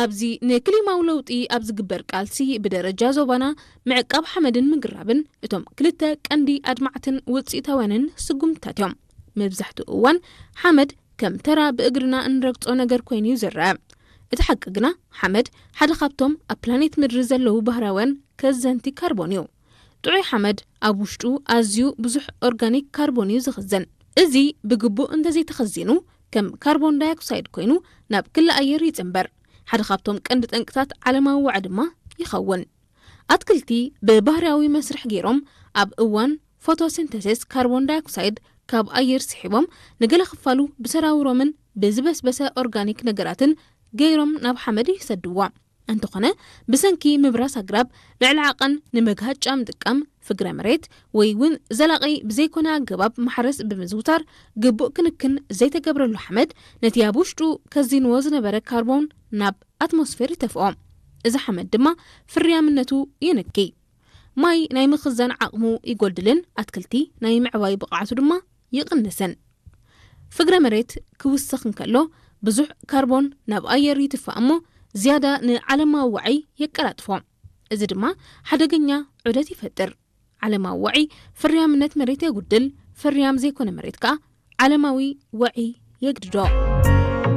ኣብዚ ንክሊማዊ ለውጢ ኣብ ዝግበር ቃልሲ ብደረጃ ዞባና ምዕቃብ ሓመድን ምግራብን እቶም ክልተ ቀንዲ ኣድማዕትን ውፅኢታውያንን ስጉምትታት እዮም። መብዛሕትኡ እዋን ሓመድ ከም ተራ ብእግርና እንረግጾ ነገር ኮይኑ እዩ ዝረአ። እቲ ሓቂ ግና ሓመድ ሓደ ካብቶም ኣብ ፕላኔት ምድሪ ዘለዉ ባህርያውያን ከዘንቲ ካርቦን እዩ። ጥዑይ ሓመድ ኣብ ውሽጡ ኣዝዩ ብዙሕ ኦርጋኒክ ካርቦን እዩ ዝኽዘን። እዚ ብግቡእ እንተዘይተኸዚኑ ከም ካርቦን ዳይኦክሳይድ ኮይኑ ናብ ክሊ ኣየር ይጽንበር። ሓደ ካብቶም ቀንዲ ጠንቅታት ዓለማዊ ዋዒ ድማ ይኸውን። ኣትክልቲ ብባህርያዊ መስርሕ ገይሮም ኣብ እዋን ፎቶሲንተሲስ ካርቦን ዳይኦክሳይድ ካብ ኣየር ስሒቦም ንገለ ክፋሉ ብሰራውሮምን ብዝበስበሰ ኦርጋኒክ ነገራትን ገይሮም ናብ ሓመድ ይሰድዋ። እንተኾነ ብሰንኪ ምብራስ ኣግራብ ልዕሊ ዓቐን ንመግሃጫ ምጥቃም ፍግረ መሬት ወይ እውን ዘላቒ ብዘይኮነ ኣገባብ ማሕረስ ብምዝውታር ግቡእ ክንክን ዘይተገብረሉ ሓመድ ነቲ ኣብ ውሽጡ ከዚንዎ ዝነበረ ካርቦን ናብ ኣትሞስፌር ይተፍኦ። እዚ ሓመድ ድማ ፍርያምነቱ ይንኪ። ማይ ናይ ምኽዛን ዓቕሙ ይጎድልን ኣትክልቲ ናይ ምዕባይ ብቕዓቱ ድማ ይቕንስን። ፍግረ መሬት ክውስኽ እንከሎ ብዙሕ ካርቦን ናብ ኣየር ይትፋእ እሞ ዝያዳ ንዓለማዊ ዋዒ የቀላጥፎ። እዚ ድማ ሓደገኛ ዑደት ይፈጥር። ዓለማዊ ዋዒ ፍርያምነት መሬት የጉድል፣ ፍርያም ዘይኮነ መሬት ከኣ ዓለማዊ ዋዒ የግድዶ።